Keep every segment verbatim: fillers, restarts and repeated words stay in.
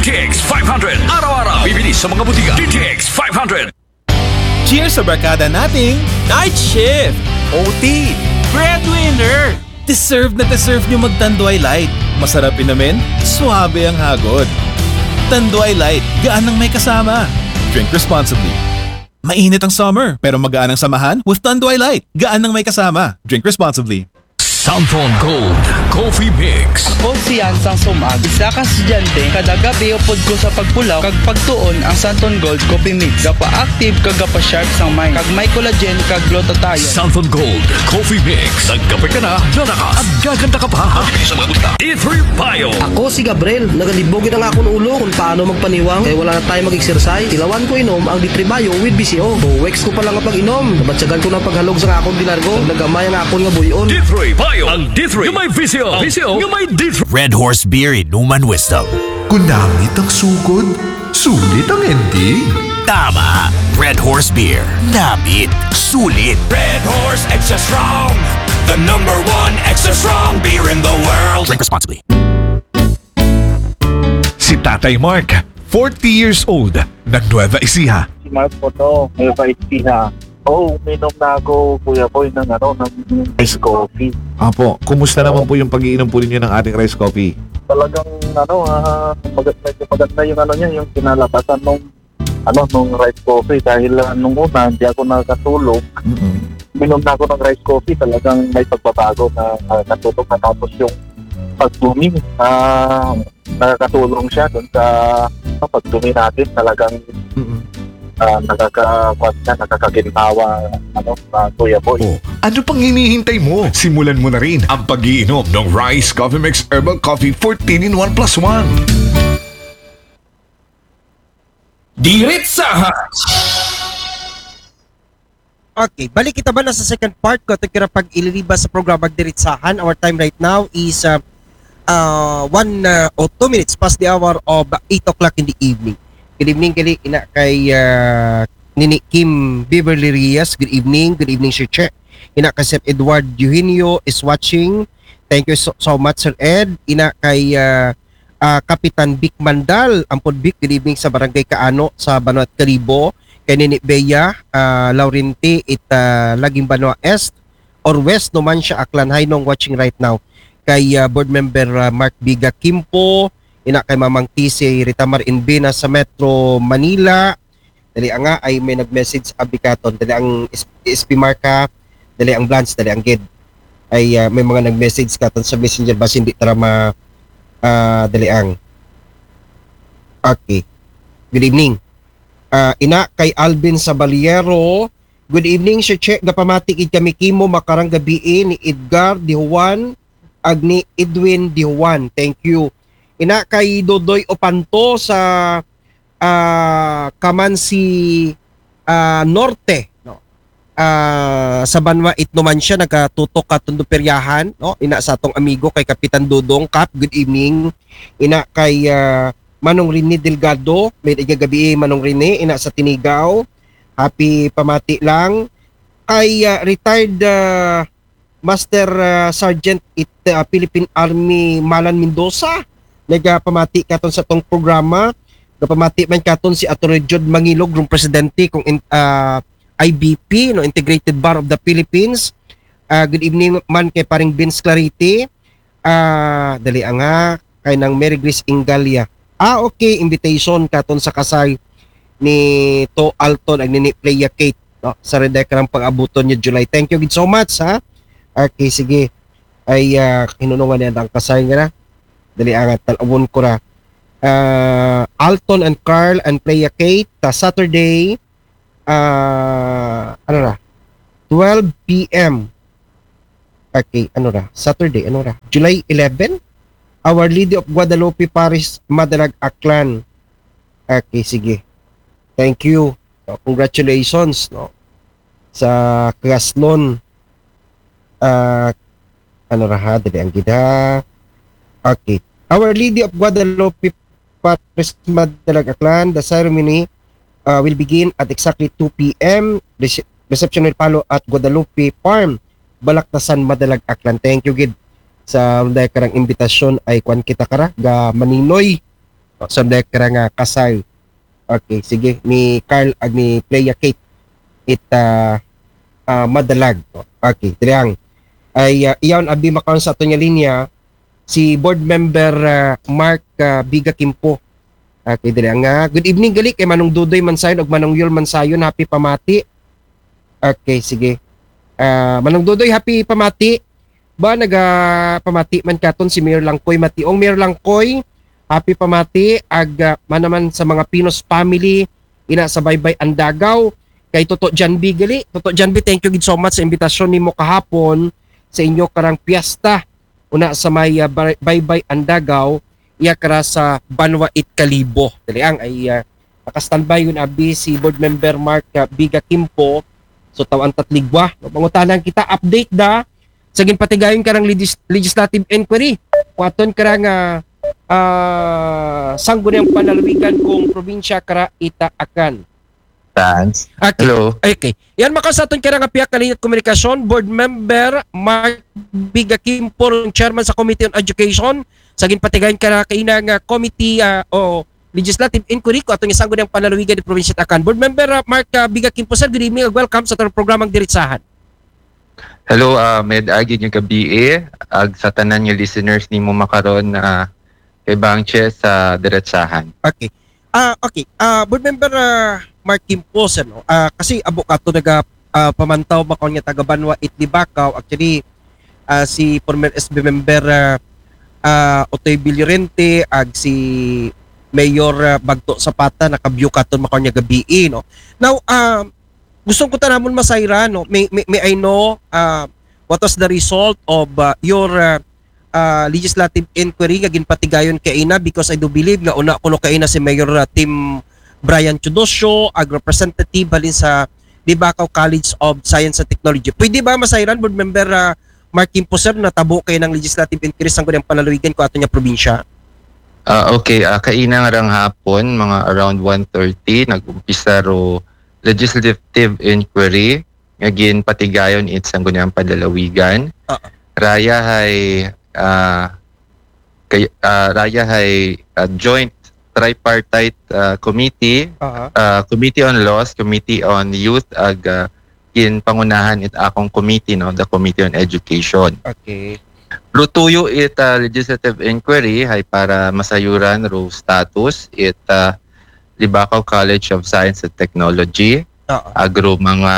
D T X five hundred. Araw-araw. Bibili sa mga butika. D T X five hundred. Cheers sa barkada nating Night Shift, O T, Breadwinner. Deserve na deserve nyo mag-Tanduay Light. Masarap inumin, suabe ang hagod. Tanduay Light, gaan ng may kasama. Drink responsibly. Mainit ang summer, pero magaan ang samahan with Tanduay Light. Gaan ng may kasama. Drink responsibly. Santon Gold Coffee Mix. Ako si Yansang Sumag, isa ka estudyante, kada gabi upod ko sa pagpulaw kag pagtuon ang Santon Gold Coffee Mix. Gapa-active kag gapa-sharp sang mind, kag may collagen kag glutathione. Santon Gold Coffee Mix. Nagkape ka na, lalakas at gaganda ka pa. Bibili sa mga butika. D three Bio. Ako si Gabriel. Nagalibog na ang akong ulo kung paano magpaniwang kay wala na tayo mag-exercise. Tilawan ko inom ang D three Bio with B C O. Weeks ko pa lang ang pag-inom. Nabatyagan ko ng paghalog sa akong ginargo. Nagamay ang akon nga buyon. D three Bio. Ang D three nga may V C O. V C O nga may D three. Red Horse Beer Inuman Wisdom. Kung namit ang sugod, sulit ang ending. Tama. Red Horse Beer. Namit. Sulit. Red Horse Extra Strong. The number one extra strong beer in the world. Drink responsibly. Si Tatay Mark, forty years old, ng Nueva Ecija. Si Mark po to, Nueva Ecija. Oo, uminom na ako, Kuya Boy, ng ano, ng ice coffee. Apo, kumusta naman po yung pag-iinom po ninyo ng ating rice coffee? Talagang ano, ah, mag- medyo maganda yung ano niya, yung kinalabasan nung ano, nung rice coffee dahil ah, nung una hindi ako nakakatulog. Mm-mm. Uminom na ako ng rice coffee, talagang may pagbabago na ah, natulog na, tapos yung pagdumi, ah, nakakatulong siya dun sa sa pagdumi natin, talagang Mm-mm. ah, nakaka siya, nakakaginhawa, ano, ah, Kuya Boy. Oh, ano pang hinihintay mo? Simulan mo na rin ang pag-iinom ng Rice Coffee Mix Herbal Coffee fourteen in one plus one. Diritsahan. Okay, balik kita ba na sa second part ko ato kira pag-ililiba sa programa Diritsahan. Our time right now is uh, uh, one uh, or two minutes past the hour of eight o'clock in the evening. Good evening, gali ina kay uh, Nini Kim Beverly Reyes. Good evening. Good evening, Sir Che. Ina kay Sir Edward Eugenio is watching. Thank you so, so much, Sir Ed. Ina kay uh, uh, Kapitan Vic Mandal, Ampod Vic, good evening sa Barangay Kaano sa Banwa Kalibo. Kay Nini Bea, uh, Laurenti, it uh, Laging Banwa East or West no man siya, Aklan. Hi, Nong, watching right now. Kay uh, Board Member uh, Mark Biga Kimpo, ina kay Mamang T C Ritamar Inbina sa Metro Manila. Dali nga, ay may nag-message abi katon. Dali ang S- SP Mark ha. Dali ang Blance, dali ang gid. Ay uh, may mga nag-message katon sa Messenger ba hindi tara ma uh, dali ang. Okay. Good evening. Uh, ina kay Alvin Sabaliero. Good evening, Sir Che. Gapamati gid kami kimo makarang gabii ni Edgar Di Juan ag ni Edwin Di Juan. Thank you. Ina kay Dodoy Opanto sa uh, Kamansi uh, Norte, no? Uh, sa Banwa Itno man siya nagatutok katon do peryahan, no? Ina sa atong amigo kay Kapitan Dodong Kap, good evening. Ina kay uh, Manong Rene Delgado, may igagabi Manong Rene, ina sa Tinigaw. Happy pamati lang kay uh, retired uh, Master uh, Sergeant it uh, Philippine Army Malan Mendoza. Nagapamati katon sa tong programa. Gapamati man katon si Attorney Jude Mangilog, rong presidente kung in, uh, I B P, no, Integrated Bar of the Philippines. Uh, good evening man kay paring Vince Clarite. Ah, dali nga kay nang Mary Grace Ingalia. Ah, okay, invitation katon sa kasal ni To Alton ag ni Playa Kate, no? Sa Red Deck ng pag-abuton niya July. Thank you gid so much, ha? Okay, sige. Ay uh, hinunungan niya ang kasal nga na. Dali nga talawon ko ra. Uh, Alton and Carl and Playa Kate ta Saturday uh, ano ra, twelve p.m. Okay, ano ra, Saturday, ano ra, July eleven. Our Lady of Guadalupe Parish, Madalag, Aklan. Okay, sige. Thank you. No, congratulations, no, sa Kaslon. Uh, ano ra ha, dali ang gida. Okay. Our Lady of Guadalupe Parish, Madalag, Aklan. The ceremony uh, will begin at exactly two p.m. Rece- reception will follow at Guadalupe Farm, Balaktasan, Madalag, Aklan. Thank you gid sa unday karang imbitasyon ay kwan kita kara ga maninoy. O, so, dek ra nga kasal. Okay, sige. Ni Carl ag ni Playa Kate. It, ah, ah, madalag. O, okay, diri ang. Ay, ah, iyaw abi makaon sa aton nga linya, si Board Member, ah, Mark, ah, Biga Kimpo. Okay, diri ang, ah, good evening gali kay Manong Dudoy Mansayon ug Manong Yul Mansayon. Happy pamati. Okay, sige. Ah, Manong Dudoy, happy pamati. Ba, naga pamati man katon si Mayor Langkoy Mationg. Mayor Langkoy, happy pamati. Ag, ah, man naman sa mga Pinos family, ina sa Baybay Andagaw. Kay Toto Janbi gali. Toto Janbi, thank you gid so much sa imbitasyon nimo kahapon sa inyo karang piyesta. Una sa may, ah, Bay-, Baybay Andagaw, iya kara sa Banwa it Kalibo. Dali ang ay, ah, naka-standby yun abi si Board Member Mark, ah, Biga Kimpo. So, tawan tatligwa. No, pangutanan kita, update da sa ginpatigayon karang legis-, legislative inquiry. Kuaton karang, ah, ah, sangguniang panlalawigan kung probinsya kara ita Akan. Thanks. Okay. Hello. Okay. Yan, makasaton kara nga pihak kalinya komunikasyon, Board Member Mark Biga Kimpo, Chairman sa Committee on Education, sa ginpatigayon kara kaina nga committee, ah, o legislative inquiry ko ato nga sangguniang panlalawigan di probinsya Akan. Board Member, ah, Mark, ah, Biga Kimpo, sir, good evening ug welcome sa atong programang Diretsahan. Hello, ah, med agi nga gabi eh. Ag sa tanan nga listeners nimo makaron, ah, kay Bangche sa Diretsahan. Okay. Ah, okay. Ah, Board Member, ah, Mark Kimpo, sir, no? Ah, kasi abo kato naga, ah, pamantaw makaon nga taga Banwa it Libacao. Actually, ah, si former S B member, ah, ah, Otoy Villorente ag si Mayor, ah, Bagto Zapata naka-view katon makaon nga gabi, no? Now, ah, gusto ko ta namon masayran, no? May, may, may I know, ah, what was the result of, ah, your, ah, ah, legislative inquiry nga ginpatigayon kaina, because I do believe nga una kuno kaina si Mayor, ah, Tim Brian Teodosio ag representative halin sa Libacao College of Science and Technology. Pwede ba masayran, Board Member, ah, Mark Kimpo, sir, natabo kaina nga legislative inquiry sangguniang panlalawigan ko ato nga probinsya? Ah, okay, ah, kaina nga rang hapon, mga around one thirty, nag-umpisa ro legislative inquiry nga ginpatigayon it sangguniang panlalawigan. Ah. Raya hay, ah, kay, ah, raya hay, ah, joint tripartite, ah, committee, Aha. ah, Committee on Laws, Committee on Youth, ag, ah, ginpangunahan it akong committee, no, the Committee on Education. Okay. Rutuyo it, ah, legislative inquiry hay para masayuran ro status it, ah, Libacao College of Science and Technology. Oo. Agro mga,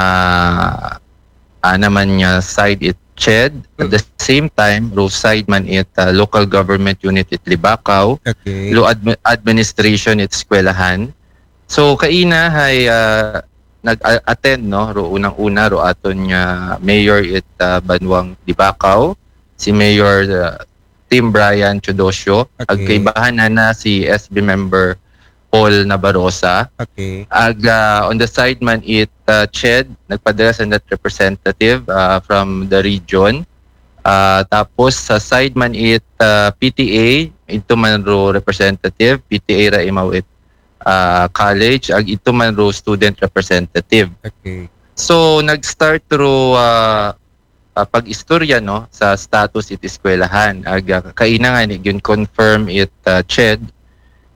ah, naman nga side it CHED. At the same time, ro side man it, ah, local government unit it Libacao, Okay. lo admi- administration it eskwelahan. So kaina hay, ah, nag-attend, no, ro unang-una ro aton nga mayor it, ah, Banwang Libacao, si Mayor, ah, Tim Brian Teodosio. Okay. Ag kaibahan na na si S B member Paul Nabarosa. Okay. Ag, ah, on the side man it, ah, CHED, nagpadala sa net representative, ah, from the region. Ah, tapos sa side man it, ah, P T A, ito man ro representative, P T A ra imaw it, ah, college, ag ito man ro student representative. Okay. So nag-start ro, ah, ah, pag-istorya, no, sa status it eskwelahan. Ag, ah, kaina nga ni gyud confirm it, ah, CHED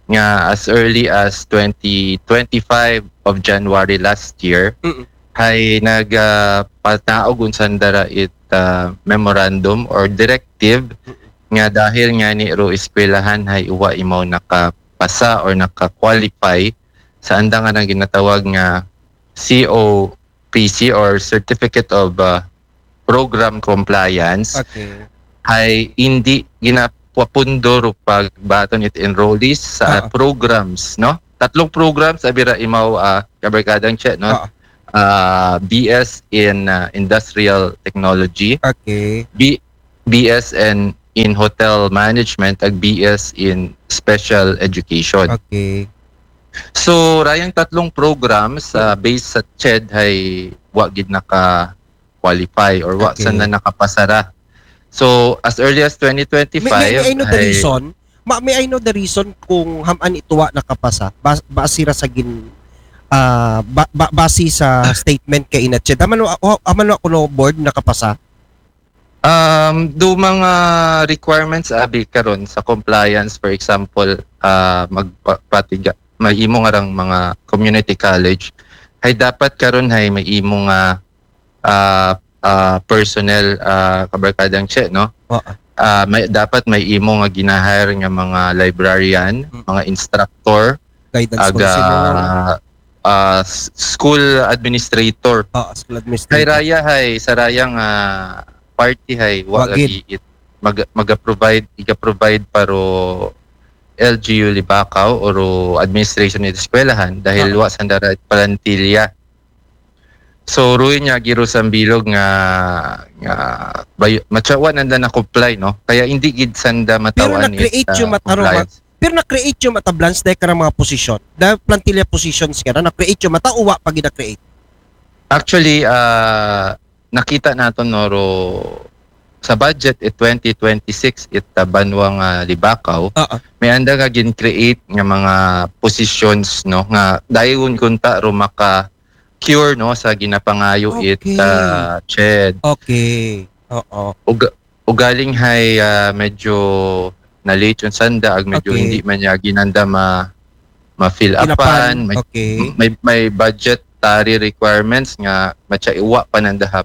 nga as early as twenty twenty-five of January last year, Mm-mm. hay nag, ah, panaog unsan dara it, ah, memorandum or directive nga dahil nga ni ro eskwelahan hay uwa imaw nakapasa or naka-qualify sa andang nga ginatawag nga C O P C or Certificate of, ah, Program Compliance, Okay. hay hindi ginapapundo ro pagbaton it enrollees sa Ah. programs, no? Tatlong programs abira imaw, ah, kabarkadang CHED, no? Ah. Ah, B S in, ah, Industrial Technology, Okay. B- B S in, in Hotel Management, ag B S in Special Education. Okay. So, rayang tatlong programs, ah, based sa CHED hay wa gid naka-qualify or wa Okay. sana nakapasara. So, as early as May, twenty twenty-five, may, may I know the hay- reason? Ma, may I know the reason kung ham-an ito wa nakapasa? Ba, base ra sa gin, ah, ba, ba, base sa statement kaina CHED. Haman wa, wa, haman wa kuno board nakapasa? Um, do mga requirements abi karon sa compliance, for example, ah, magpatiga, may imo nga rang mga community college, hay dapat karon hay may imo nga, ah, ah, personnel, ah, kabarkadang Che, no? Oo. Ah, may dapat may imo nga ginahire nga mga librarian, Mm. mga instructor, Guidance aga, counselor. Ah, s- school administrator. Oo, school Hay administrator. raya hay, sa raya nga party hay wa Wa gid. Lagi it mag, maga-provide, iga-provide pa ro L G U Libacao o ro administration it eskwelahan dahil Oo. Wa sanda ra it plantilla. So ruy niya gid ro sa bilog nga nga bayo, matyawa nanda na comply, no? Kaya hindi gid sanda Pero matawan na-create it, ah, yung mataro, compliance. Pero na-create yung matablans dahil ka mga position. Dahil plantilla positions ka na, na-create yung mata o wa pa gid na-create. Actually, ah, nakita nato, no, ro sa budget it twenty twenty-six it, ah, banwa nga Libacao. Oo. May anda nga gin-create nga mga positions, no, nga dayon kunta ro maka cure, no, sa ginapangayo it, Okay. ah, CHED. Okay. Oo. Ug ugaling hay, ah, medyo na-late yung sanda ag medyo Okay. Hindi man niya ginanda ma ma-fill Ginapan. upan, may, Okay. may may budgetary requirements nga matya iwa pa nanda ha,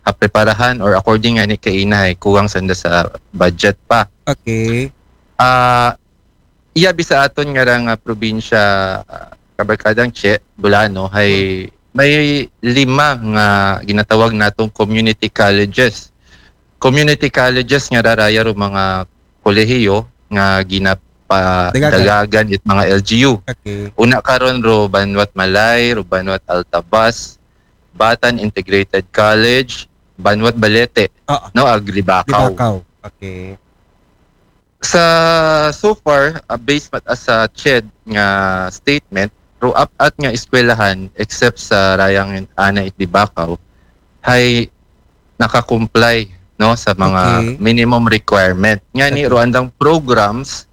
ha preparahan or according nga ni kaina hay kuwang sanda sa budget pa. Okay. Ah, iya bisa aton nga ra nga probinsya, ah, kabarkadang Che, Bulano, hay may lima nga ginatawag natong community colleges. Community colleges nga raraya ro mga kolehiyo nga ginapadagagan it mga L G U. Okay. Una karon ro Banwat Malay, ro Banwat Altavas, Batan Integrated College, Banwat Balete, Oo. no, ag Libacao. Libacao. Okay. Sa so far, ah, based mat as sa CHED nga statement, ro apat nga eskwelahan except sa rayang ana it Libacao, hay naka-comply, no, sa mga Okay. minimum requirement. Nga ni Okay. ro andang programs,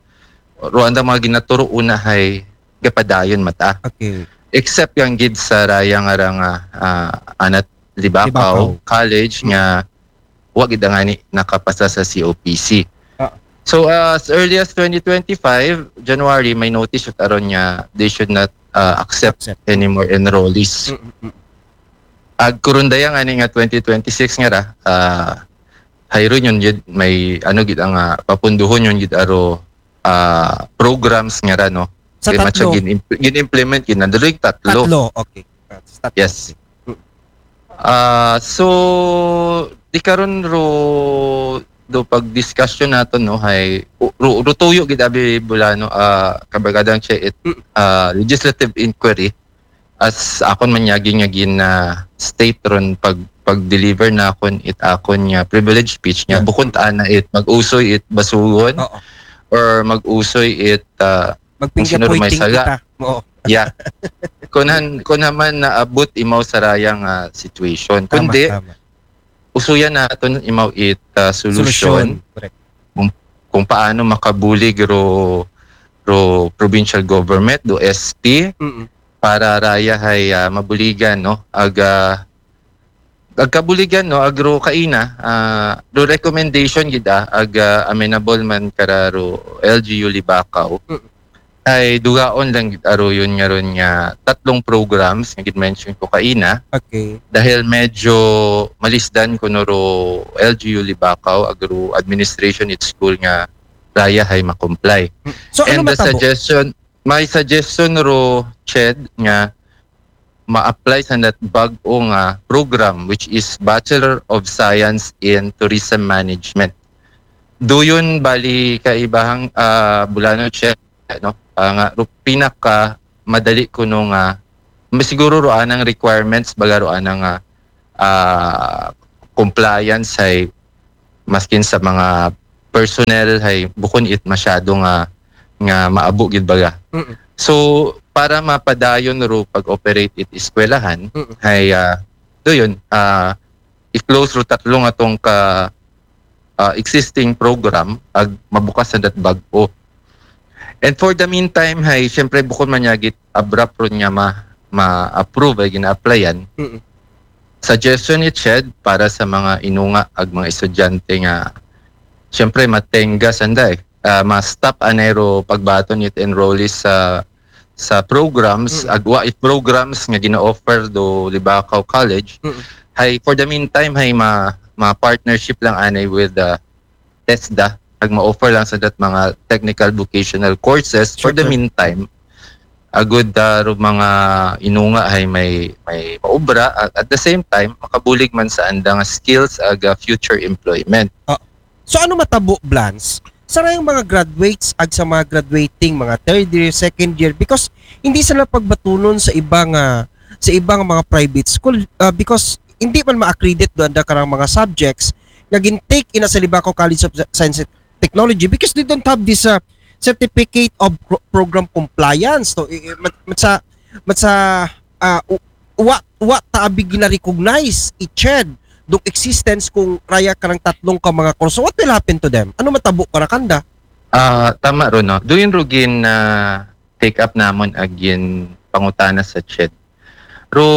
ro andang mga ginaturo una hay gapadayon mata. Okay. Except yang gid sa raya nga ra nga, ah, anat Libacao Libacao. College Mm. nga wa gid nga ni nakapasa sa C O P C. Ah. So, ah, as early as twenty twenty-five January, may notice siya karon nga they should not, ah, accept Accept. any more enrollees. Mm, mm, mm. Ag kurundaya nga ni nga twenty twenty-six nga ra, ah, hayron yun gid, may ano gid ang, ah, papunduhon yun gid aro, ah, programs nga ra, no? Sa Kay matsa tatlo. gin-, gin-implement gid na diri tatlo. Tatlo. Okay. Ah, sa tatlo. Yes. Ah, so di karon ro do pag-discussion nato, no, hay ru, ru tuyo gid abi Bulano, ah, kabarkadang Che, it, Mm. ah, legislative inquiry as akon man yagi nga gin, ah, state ron pag pag-deliver nakon it akon nga privilege speech nga Yeah. Bukon ta ana it mag-usoy it basugon Oo. or mag-usoy it, ah, Mag-finger Kung sino ro may pointing sala. Kita. Oo. Yeah. Kun han, kun han man naabot imaw sa rayang, ah, situation. Tama, Kundi tama. Usuyan naton imaw it, ah, solution Correct. Kung paano makabulig ro ro provincial government, do S P, Mm. para raya hay, ah, mabuligan, no? Aga agkabuligan, no, agro kaina, ah, do recommendation gid, ah, aga amenable man kara ro L G U Libacao. Mm. Ay dugaon lang gid aro yun nga ron nga tatlong programs nga gid-mention ko kaina. Okay. Dahil medyo malisdan kuno ro L G U Libacao, agro administration it school nga raya hay makomply. So, ano And the matabo? Suggestion, may suggestion ro, Ched, nga ma-apply sa nat bag-o nga program, which is Bachelor of Science in Tourism Management. Duyon bali kaibahang, ah, Bulano, Ched, no? Ah, nga ro pinaka madali kuno nga masiguro ro anang requirements baga ro anang, ah, ah, compliance hay maskin sa mga personnel hay bukon it masyado nga nga maabo gid baga. Mm. So para mapadayon ro pag-operate it eskwelahan Mm. hay, ah, duyon, ah, i-close ro tatlo nga tong ka, ah, existing program ag mabukas sa dat bag-o. And for the meantime hay syempre bukon man yagit abrupt ron nga ma ma-approve ay gina-applyan. Mm. Suggestion it, Ched, para sa mga inunga ag mga estudyante nga syempre matengga sanda eh. ah, ma-stop anay ro pagbaton it enrollees sa sa programs, Mm. ag wa it programs nga gina-offer do Libacao College. Mm. Hay for the meantime hay ma ma partnership lang anay with the TESDA, ag ma-offer lang sa dat mga technical vocational courses for Sure, the sir. meantime. Agud da ro mga inunga hay may may maubra at at the same time makabulig man sa anda nga skills ag ah, future employment. So ano matabo, Blance? Sa rayang mga graduates ag sa mga graduating mga third year, second year, because hindi sila pagbatunon sa ibang ah, sa ibang mga private school ah, because hindi man ma-accredit do anda karang mga subjects nga gin-take ina sa Libacao College of Science and Technology because they don't have this ah, certificate of pro- program compliance. So, i- i- mat, mat sa mat sa ah, u- wa wa ta abi gina-recognize i CHED dong existence kung raya karang tatlong ka mga kurso. What will happen to them? Ano matabo para kanda? Ah, tama ro, no? Duyon ro gin ah, take up namon ag gin pangutana sa CHED. Ro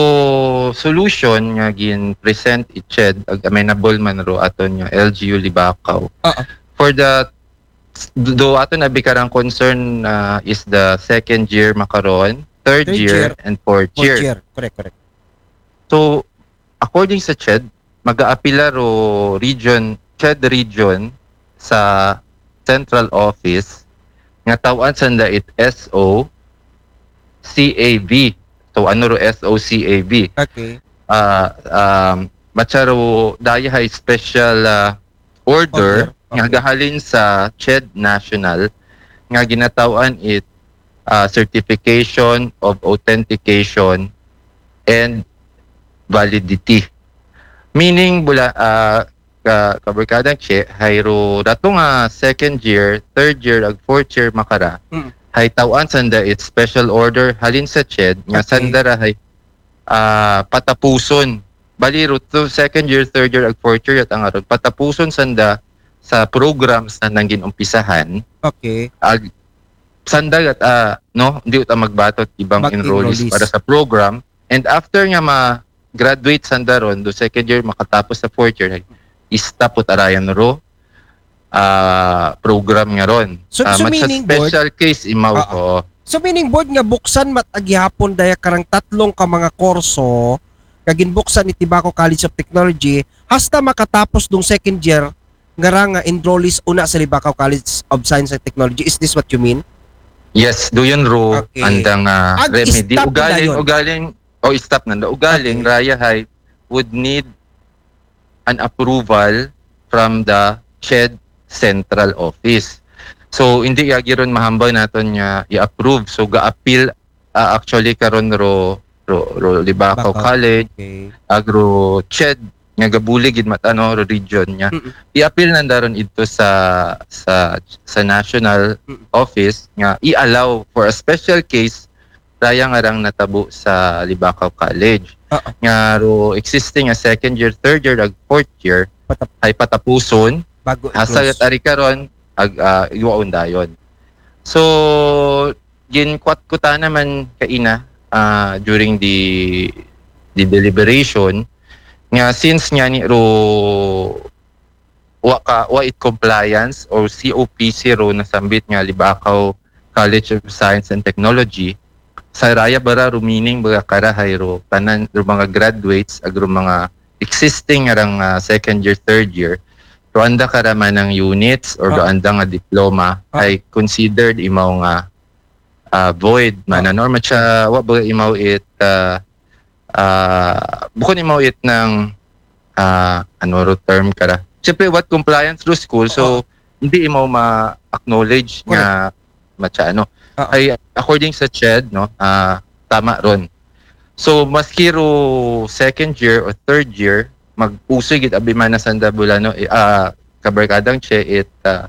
solution nga gin present i CHED ag amenable man ro aton nga L G U Libacao. Oo. For the do aton abi karang concern ah, is the second year makaron, third, Third year, year. and fourth, Fourth year. Year. Correct, correct. So, according sa CHED, mag-aapila ro region, CHED region sa central office nga taw-an sanda it S O C A V. So, ano ro S O C A V? Okay. Ah, um, matsa ro daya hay special ah, order Order. nga Okay. gahalin sa CHED National nga ginataw-an it ah, certification of authentication and validity. Meaning, bula, ah, ka, kabarkadang Che, hay ro dato nga second year, third year, ag fourth year makara, Mm. hay taw-an sanda it special order halin sa CHED nga Okay. sanda ra hay ah, patapuson. Bali ro to second year, third year, ag fourth year, at ang aron patapuson sanda sa programs na nang ginumpisahan. Okay. Ag sanda at ah, no, hindi uta magbatot ibang Bag enrollees enrollees. Para sa program. And after nga ma-graduate sanda ron, do second year makatapos sa fourth year, istop ut arayan ro ah, program nga ron. So- Ah, so mat sa meaning, Board, special case imaw ah, ko. So meaning, Board, nga buksan mat agyapon daya karang tatlong ka mga kurso nga ginbuksan ni Libacao College of Technology hasta makatapos dong second year nga rang ah, enrollees una sa Libacao College of Science and Technology. Is this what you mean? Yes, duyon ro Okay. andang ah, Ag remedy. Stop na Ugaling, dayon. ugaling, o stop nanda. Ugaling, Okay. raya hay would need an approval from the CHED central office. So, hindi yagi ron mahambal naton nga i-approve. So, ga-appeal ah, actually karon ro ro, ro Libacao Libacao. College, Okay. ag ro CHED nga gabulig gid mat ano ro region nga Mm-mm. i-appeal nanda ron idto sa sa sa national Mm. office nga i-allow for a special case raya nga rang natabo sa Libacao College Oo. nga ro existing nga second year, third year, ag fourth year Patap- ay patapuson Bago hasta i-close. Ari karon ag uh, iwaon dayon. So ginkwat ko ta naman kaina ah, during the the deliberation nga since nga ni ro wa ka wa it compliance or C O P C ro nasambit nga Libacao College of Science and Technology sa raya bara ro meaning bara kara hay ro tanan ro mga graduates ag ro mga existing nga rang ah, second year, third year ro anda kara man ang units or ro Ah. anda nga diploma Ah. ay considered imaw nga ah, void man Ah. ano or matsa wa ba imaw it ah, ah, bukon imaw it ng ah, ano ro term kara. Siyempre what compliance ro school so Oo. hindi imaw ma-acknowledge nga matsa ano. Ah. Ay according sa CHED no, ah, tama ron. So maski ro second year o third year magpusoy gid abi man na sanda bula no, eh, ah, kabarkadang Che it ah,